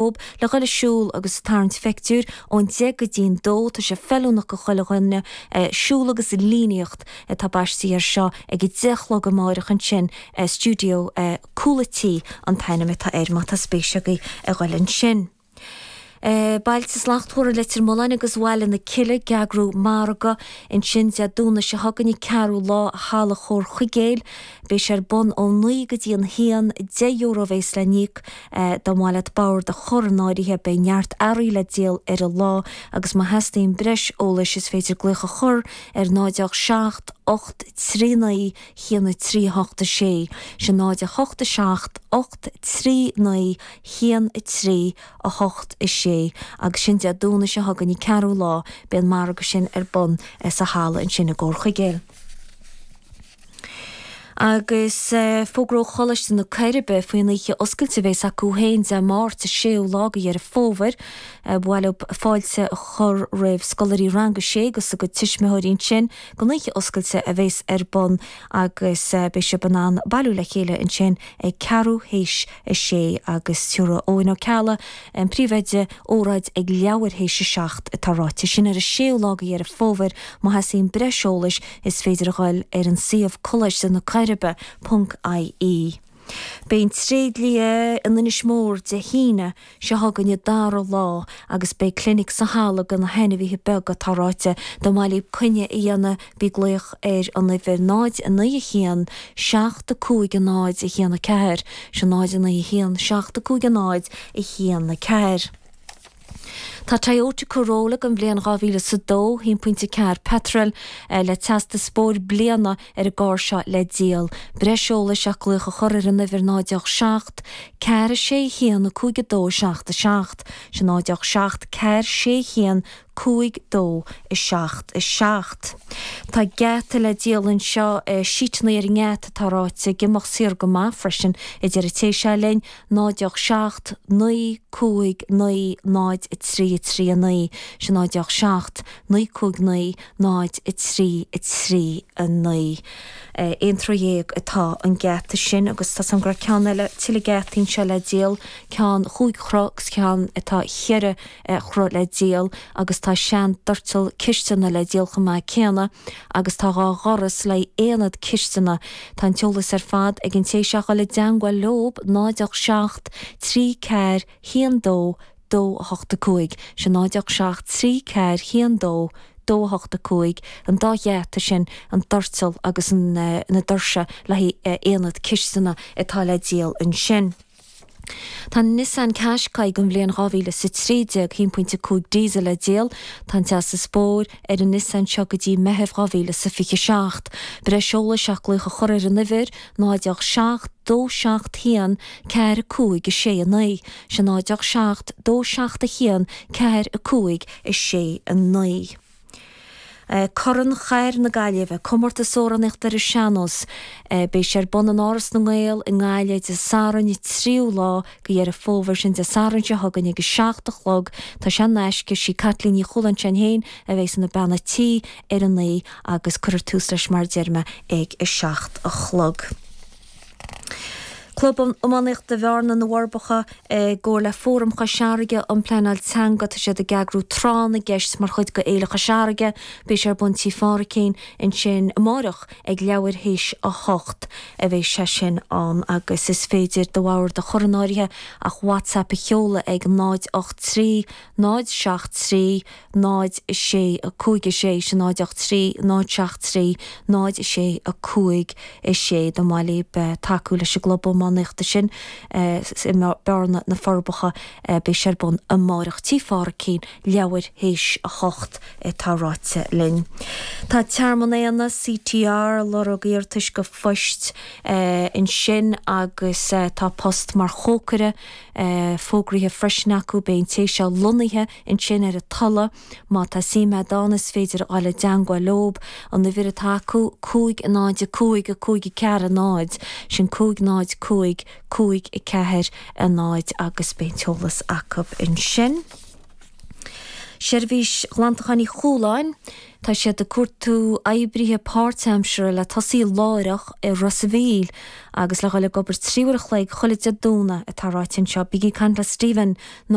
Le dhul ag siúl agus ag tarraingt phictiúir ón 10 go dtí'n 2, tá sé feiliúnach go chuile dhuine, siúl agus líníocht atá baistí air seo ag a 10 a chlog amáireach ansin, Stiúideo Cúl a' Tí an t-ainm atá air má tá spéis agaibh a ghoil ansin. Bailte Slachtmhara Leitir Mealláin agus Bhaile na Cille ag eagrú margadh ansin Dé Domhnaigh seo chugainn an ceathrú lá i Halla Chomhar Chuigéil. Beidh sé ar bun ó 9 go dtí an haon, €10 a bhéas le n-íoc dá mba mhaith leat bord a chur in áirithe. Beidh neart earraí le díol ar an lá agus má theastaíonn breis eolais is féidir glaoch a chur ar 0 7 8 3 9 1 3 8 6. Sin 0 8 7 8 3 9 1 3 8 6 agus sin Dé Domhnaigh seo chugainn an ceathrú lá beidh an margadh sin ar bun sa halla ansin i gComhar Chuigéil. Agus fógra ó Choláiste na Coiribe faoin oíche oscailte a bhéas acu féin Dé Máirt, an séú lá de Dheireadh Fómhair. Ba mhaith leo fáilte a chur roimh scolairí Rang a Sé agus a gcuid tuismitheoirí ansin don oíche oscailte a bhéas ar bun agus beidh sibh in ann bailiú le chéile ansin ag ceathrú théis a sé agus tabharfaidh Eoin Ó Ceallaigh, an príomhoide, óráid ag leathuair théis a 7 atá ráite. Sin ar an séú lá de Dheireadh Fómhair. Má theastaíonn breis eolais is féidir a ghoil ar an suíomh Coláiste na Coiribe ponc ie. Beidh an tréidlia in Inis Mór Dé hAoine seo chugainn an dara lá agus beidh clinic sa halla do na hainmhithe beaga atá ráite. Dá mba mhaith libh coinne a dhéanamh bí ag glaoch ar an uimhir 0 9 1 7 5 0 1 4, sin 0 9 1 7 5 0 1 4. Tá Toyota Corolla den bhliain 2002, 1.4 peitreal, le teastas spóir bliana ar an gcarr seo le díol. Breis eolais ach glaoch a chur ar an uimhir 0 7 4 6 1 5 2 7 7, sin 0 7 4 6 1 5 2 7 7. Tá geata le díol anseo, síteanna ar an ngeata atá ráite, ag imeacht saor go maith freisin, a deir an té seo linn, 0 7 9 5 9 0 3 3 9, sin 0 7 9 5 9 0 3 3 9. Aon troigh atá an geata sin agus tá 's agam go raibh ceann eile, tuilleadh geataí anseo le díol, ceann chúig throigh agus ceann atá cheithre throigh le díol agus tá sean doirteal cisteana le díol chomh maith céanna agus tá dhá dhoras le aonad cisteana. Tá an t-eolas ar fad ag an té seo a dhul i dteangmháil leob 0 7 3 4 1 2 2 8 5, sin 0 7 3 4 1 2 2 8 5, an dá gheata sin, an doirteal agus na doirse le haghaidh aonad cisteana atá le díol ansin. Tá Nissan Qashqai den bhliain 2013, 1.5 diesel le díol. Tá an teastas spóir ar an Nissan seo go dtí Meitheamh 2027. Breis eolais ach glaoch a chur ar an uimhir, 0 7 2 7 1 4 5 6 9. Sin 0 7 2 7 1 4 5 6 9. Corn Chathair na Gaillimhe, comórtas amhránaíochta ar an sean-nós. Beidh sé ar bun in Áras na nGael i nGaillimh Dé Sathairn an tríú lá de Dheireadh Fómhair, sin Dé Sathairn seo chugainn ag a 7 a chlog. Tá sé in aisce. Sí Caitlín Ní Chualáin féin a bheas ina bean a' tí ar an oíche agus cuirfear tús leis mar a deir mé ag a 7 a chlog. Club Iománaíochta Bhearna, Na Forbacha, i gcomhar le Fóram Chois Fharraige um Pleanáil Teanga, tá siad ag eagrú Tráth na gCeist mar chuid de Fhéile Chois Fharraige. Beidh sé ar bun Tí Pháraic ansin amáireach ag leathuair théis 8 a bheidh sé sin ann agus is féidir do bhord a chur in áirithe ach WhatsApp a sheoladh ag 0 8 3 0 7 3 0 6 5 6 sin 0 8 3 0 7 3 0 6 5 6 dá mba mhaith libh tacú leis an gclub iománaíochta sin i mBearna, Na Forbacha. Beidh sé ar bun amáireach Tí Pháraic, leathuair théis 8 atá ráite linn. Tá Tearmann Éanna, CTR, lorg iarratais go phoist ansin agus tá post mar chócaire fógraithe freisin acu. Beidh an té seo lonnaithe ansin ar an Tulaigh. Má tá suim a'd ann is féidir a dhul i dteangmháil leob. An uimhir atá acu, 5 0 5 5 4 0, sin 5 0 5 5 4 0 agus beidh an t-eolas acu ansin. Seirbhís Ghlantacháin Uí Chualáin, tá siad ag cuartú oibrithe páirtaimseartha le tosaí láithreach i Ros a' Mhíl agus le dhul ag obair 3 uair a chloig chuile Dé Domhnaigh atá ráite anseo. Bígí ag caint le Stephen nó.